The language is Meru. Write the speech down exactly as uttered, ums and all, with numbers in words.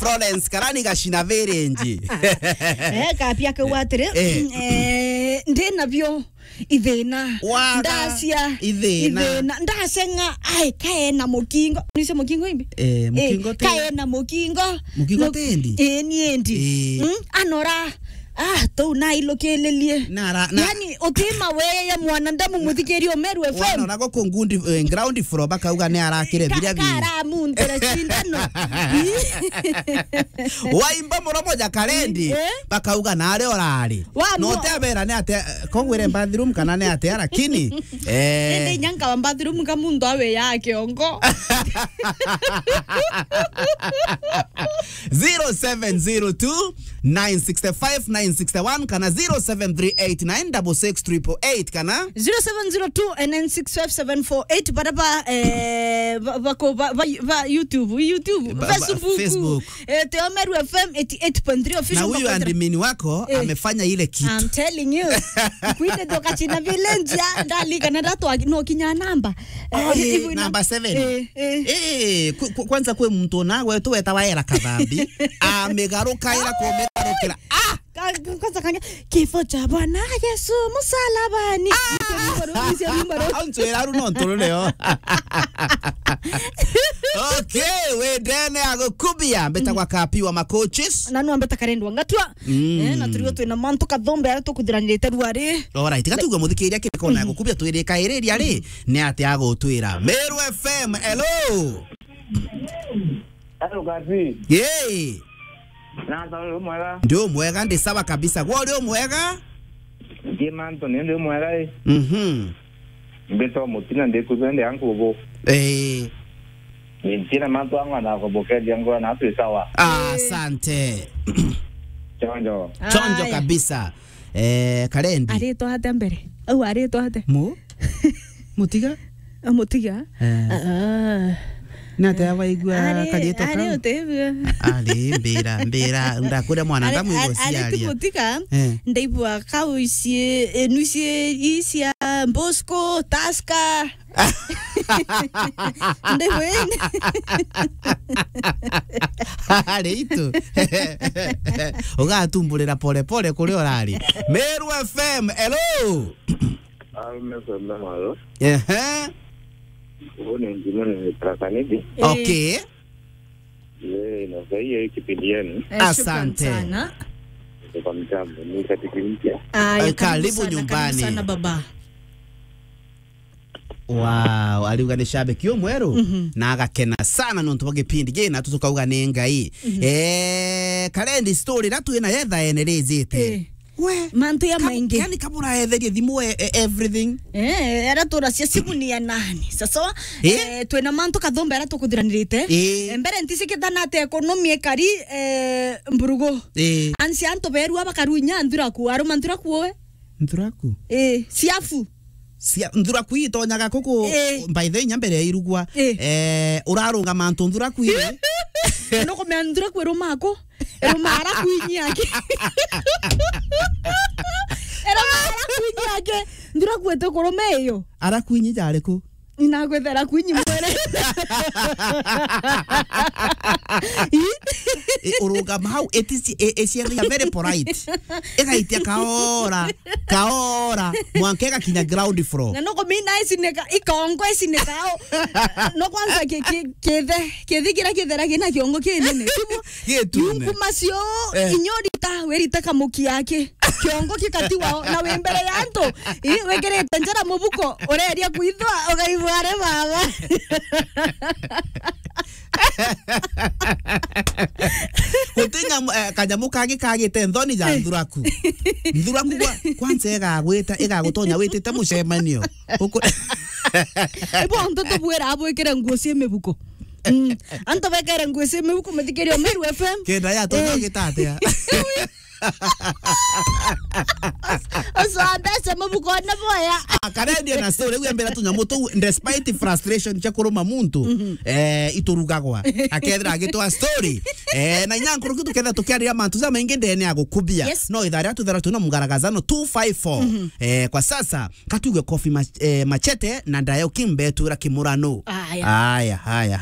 Florence Karani Gacina Virinji. Eh, kapia kau atiri, eh, ndi nabio ithina. Waga. Ndacia ithina. Ithina. Ndaceng'a, ai, kae na mukingo. Nicio mukingo imbi? Eh, mukingo ti kae na mukingo. Mukingo ti endi? Eh, ni endi. Eh. Mm, anora. Ah, tou nailukililie. Nara-, na- Yani, utima weye mwanadamu muthikiri Meru F M. Wana nako ku ngundi, eh, ground floor bakauga ni arakire biria bi. Kara muntira cindano. Waimba muromo ja Karendi, eh? Bakauga nari orari. Wa no mo- te abera ni ate, kogwire bathroom kana ni ate, lakini, eh. Ende inya nkaba bathroom ka muntu awe ya kiongo. Zero seven zero two, nine six five, nine six one kana zero seven three eight nine double six triple eight kana zero seven zero two nine six five seven four eight. Bara ba, eh, ba, ba, ko, ba, ba, ba YouTube, YouTube, ba, ba, Facebook. Facebook. Eh, Teo Meru F M eighty eight point three official. Na huyu Makotra admin wako, eh, amefanya ile kitu. I'm telling you. Kwinde ndio kachina village ya, ndali kana ndatwa no kinya namba. Oh, eh, eh, hivyo ina- number seven. Eh, eh. Eh, ku-, ku-, kwanza kwi muntu na gwetu wetawa Era Kathambi, amigaruka ira kumigarukira. Ah! Ka-, ka-, kwanza kange, kifo cha Bwana Yesu msalabani. Ah! Nise rumba ru-, nise rumba ru- Au ntwira ru no nturu nio. Okay, we ndene agukubia, mbeta kwa kapi wa macoaches. Na nwa mbeta karendwa ngatwa. Mm. Eh, na turio twina mantu kathombe aria tukuthiranirite ruari. Alright, gatuigwe muthikiria kiri kona ya gukubia twirika iriria ri, ni ati agutwira. Meru F M, hello. Hello, Gati. Yay. Na uri mwega? Ndi umwega, ndi sawa kabisa. Gwe uri umwega? Ndi mantu ni ndi umwega, eh. Mhm. Mbitwa Mutina, ndi kuzende ankubu. Eh. Ni ntina mantu angwa na kubokeria ngwa na twi sawa. Ah, asante. Chonjo. Chonjo kabisa. Eh, Karendi. Aritwa atia mbere? Au aritwa atia? Mu? Mutiga? Amutiga? Eh. Ah. Na te abaigua ari, karietwa ari kau? Utebua. Ari, mbira, mbira, ndakuria mwanadamu ari, ari, ari ti igociaria. Mutiga, eh, ndaigua kau ici, enu ici, ici cia Bosco, Tusker. Ndaigua indi. Ari itu. Ugatumburira pole pole kuria urari. Meru F M, hello. Arume kwenda mwaro. Ehe. Uyu ni Njimo ni Tharaka Nithi. Eh. Okay. Eh, na sahi hii kipindi yenu. Eh, shukran sana. Asante. Kwa mtambo, ni katika mpya. Aya, eh, karibu sana, karibu nyumbani. Sana baba. Wow, ariuga ni shabiki umweru, mhm, na agakena sana nontu bwa gipindi gi, na tutukauga ni Ngai. Mhm. Eh, Karendi, story ira twina yetha ene rijite. Eh. We, mantu ya kam-, maingi. Yani kabura etherie thimu e, e, everything. Eh, ara turacia simu ni ya nani? Sasa, eh, eh, twina mantu kathombe ara tukuthiranirite. Eh. Eh, mbere ntisi kithana ate economy ekari, eh, mburugu. Eh. Ansi antu berua bakarunya nthuraku, aruma nthuraku we. Nthuraku? Eh, siafu. Cia, nthuraku itonyaga kuku, eh, by the way, inya mbere ya irugwa. Eh. Eh, urarungama antu nthuraku ii. Nukumenya nthuraku irumaku. Irumaa ara kwinyi aki. Irumaa ara kwinyi aki. Nthuraku iti kurume iyo. Ara kwinyi jari ku? Inakwithira kwinyi mwere. I, urungama hau, it is, i, i, ciathia very polite. Igaitia kaora, kaora, mwanka igakinya ground floor. Na nukumina icineka, ikongo icineka au. No kwanza ki, ki, kithe, kithi kira kithera kina kiongo kinene. Gitune. Yungu macio, eh, inyorita, werita kamuki yake. Kiongo kikatiwa na wi mbere ya antu. I, wikirite njara mubuko, ureria kwithwa, ugaigua ari baba. Guti nyamu, eh, kanyamu kangi kagite nthoni ja nthuraku. Nthuraku kwa, kwanza igagwita, igagutonya witite mucemanio. Uku- Ibo antu tubwira abwikire nguo cia mibuko. Mm. Antu bekere nguo cia mibuko, muthikiria Meru F M. Kenda ya tonya, eh, gitatia. Ucio wa mbeca mubukone boya. Ah, Karendi ena story, riu embera tunyamu tuu, despite frustration cia kuruma muntu, mhm, eh, iturugagwa. Akethira agitwa story. Eh, na inya nkuruki tukethira tukiariria mantu jamaingi ndene ya gukubia. Yes. No ithaa riria twithira twina mugaragazano two five four. Mhm. Eh, kwa sasa, katuge Kofi Mach-, eh, Machete na Dayo King betura kimurano. Aya. Aya, aya, aya.